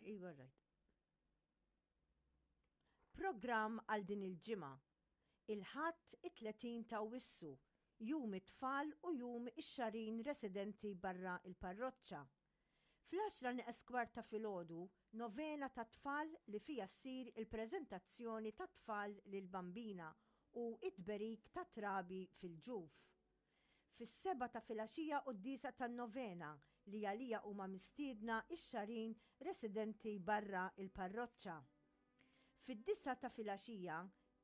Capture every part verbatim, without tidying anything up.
Iva, right. Programm għal din il-ġimgħa. Il-Ħadd it-tletin ta' Awwissu, Jum it-Tfal u Jum ix-Xagħrin residenti barra il-parroċċa. Fl-għaxra nieqes kwart ta' filgħodu, novena ta' tfal li fija ssir il-preżentazzjoni ta' tfal lil Bambina u it-tberik ta' trabi fil-ġuf. Fis-sebgħa ta' filgħaxija quddiesa tan-novena li għalija huma mistiedna ix-Xagħrin residenti barra il-parroċċa. Fid-disgħa ta' filgħaxija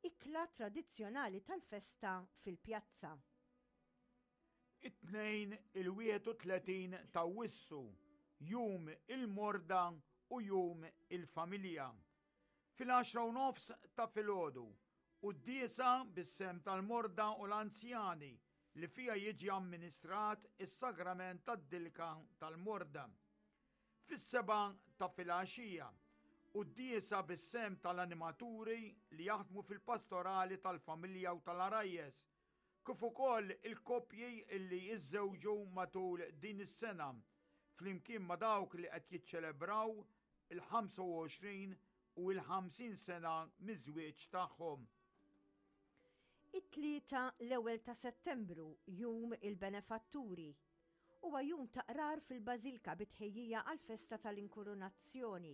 ikla tradizzjonali tal-festa fil-pjazza. It-Tnejn il-wieħed u tletin ta' Awwissu, Jum il-Morda u Jum il-Familja. Fil-għaxra u nofs ta' filgħodu, quddiesa bis-sehem tal-morda u l-anzjani li fija jiġi amministrat is-sagrament tad-dilka tal-morda. Fis-sebgħa ta' filgħaxija, quddiesa bis-sehem tal-animaturi li jaħdmu fil-pastorali tal-familja u tal-għarajjes, kif ukoll il-koppji li jiżżewġu matul din is-sena, flimkien ma' dawk li qed jiċċelebraw il-ħamsa u għoxrin u il-ħamsin sena miż-żwieġ tagħhom. It-Tlieta l-ewwel ta' Settembru, Jum il-Benefatturi. Huwa jum ta' qrar fil-Bażilka bitħejjija għall-festa tal-Inkurunazzjoni.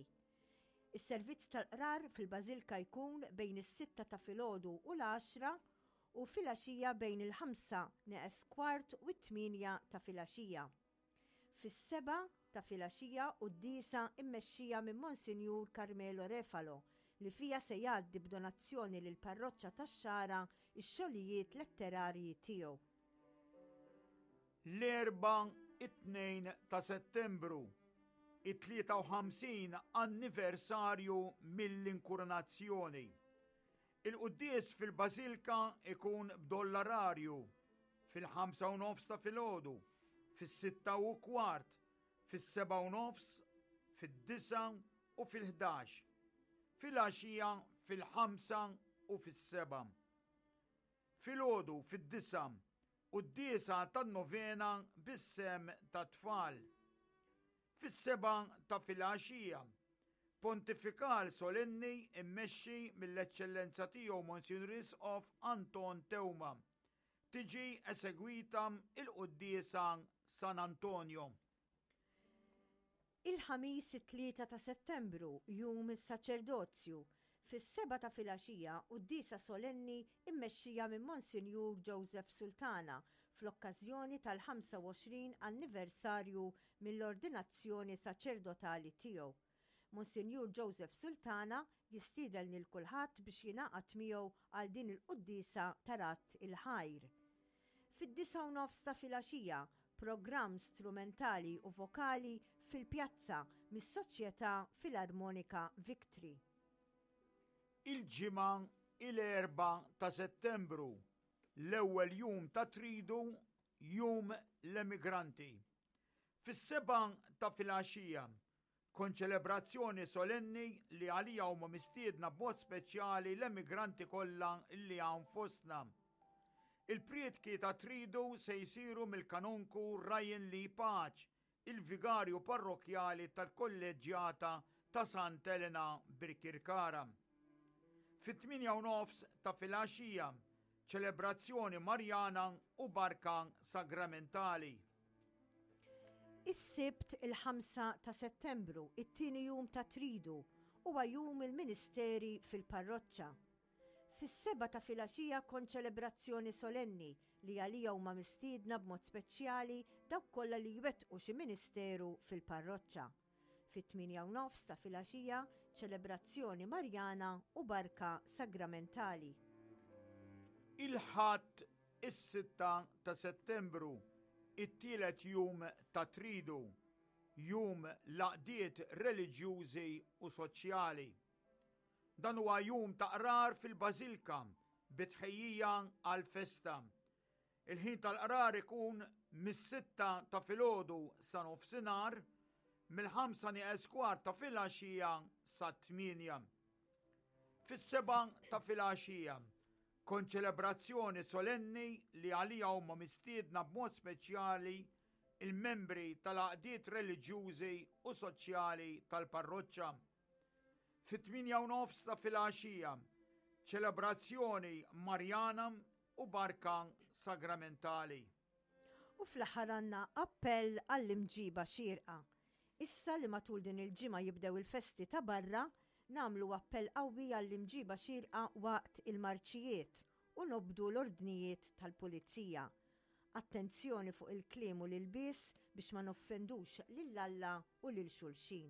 Is-servizz tal-qrar fil-Bażilka jkun bejn is-sitta ta' filgħodu u l-għaxra u filgħaxija bejn il-ħamsa neqes kwart u t-tmienja ta' filgħaxija. Fis-sebgħa ta' filgħaxija quddiesa immexxija minn Monsinjur Carmelo Refalo li fija se jgħaddi b'donazzjoni lil parroċċa tax-Xagħra x-xogħlijiet letterarji tiegħu. L-Erbgħa it-tnejn ta' Settembru, it-tlieta u ħamsin anniversarju mill-inkurunazzjoni. Il-quddies fil-Bażilka ikun b'dollararju fil-ħamsa u nofs ta' filgħodu, fis-sitta u kwart, fis-sebgħa u nofs, fid-disgħa u fil-ħdax. Filgħaxija fil-ħamsa u fis-sebgħa. Filgħodu fid-disgħa quddiesa tan-novena bis-sehem ta' tfal. Fis-sebgħa ta' filgħaxija, pontifikal solenni immexxi mill-Eċċellenza tiegħu Monsinjur Isqof Anton Teuma. Tiġi esegwita il-quddiesa San Antonio. Il-Ħamis it-tlieta ta' Settembru, Jum is-Saċerdozju, fis-sebgħa ta' filgħaxija quddiesa solenni immexxija minn Monsinjur Joseph Sultana fl-okkażjoni tal-ħamsa u għoxrin anniversarju mill-ordinazzjoni saċerdotali tiegħu. Monsinjur Joseph Sultana jistieden lil kulħadd biex jingħaqad miegħu għal din il-quddiesa ta' Radd il-Ħajr. Fid-disgħa u nofs ta' filgħaxija, programm strumentali u vokali fil-pjazza mis-Soċjetà Filarmonika Victory. Il-Ġimgħa il-erbgħa ta' Settembru, l-ewwel jum ta' Tridu, Jum l-Emigranti. Fis-sebgħa ta' filgħaxija, konċelebrazzjoni solenni li għalija huma mistiedna b'mod speċjali l-emigranti kollha li hawn fostna. Il-prietki ta' Tridu se jsiru mill-kanonku Ryan Lee Pace, il-vigarju parrokjali tal-kolleġġjata ta' Sant Elena Birkirkara. Fit-tmienja u nofs ta' filgħaxija, ċelebrazzjoni Marjana u barka sagramentali. Is-Sibt il-ħamsa ta' Settembru, it-tieni jum ta' Tridu, huwa jum il-Ministeri fil-parroċċa. Fis-sebgħa ta' filgħaxija konċelebrazzjoni solenni li għalija huma mistiedna b'mod speċjali dawk kollha li jwettqu xi ministeru fil-parroċċa. Fit-tmienja u nofs ta' filgħaxija ċelebrazzjoni Marjana u barka sagramentali. Il-Ħadd is-sitta ta' Settembru, it-tielet jum ta' Tridu, jum l-għaqdiet reliġjużi u soċjali. Dan huwa jum ta' qrar fil-Bażilka bitħejjija għal-festa. Il-ħin tal-qrar ikun mis-sitta ta' filgħodu sa nofsinhar, mill-ħamsa nieqes kwart ta' filgħaxija sa tmienja. Fis-sebgħa ta' filgħaxija, konċelebrazzjoni solenni li għalija huma mistiedna b'mod speċjali il-membri tal-għaqdiet reliġjużi u soċjali tal-parroċċa. Fit-tmienja u nofs ta' filgħaxija, ċelebrazzjoni Marjana u barka sagramentali. U fl-aħħar għandna appell għall-imġiba xierqa. Issa li matul din il-ġimgħa jibdew il-festi ta' barra, nagħmlu appell qawwi għall-imġiba xierqa waqt il-marċijiet u nobdu l-ordnijiet tal-pulizija. Attenzjoni fuq il-kliem u l-ilbies biex ma noffendux lil Alla u lil xulxin.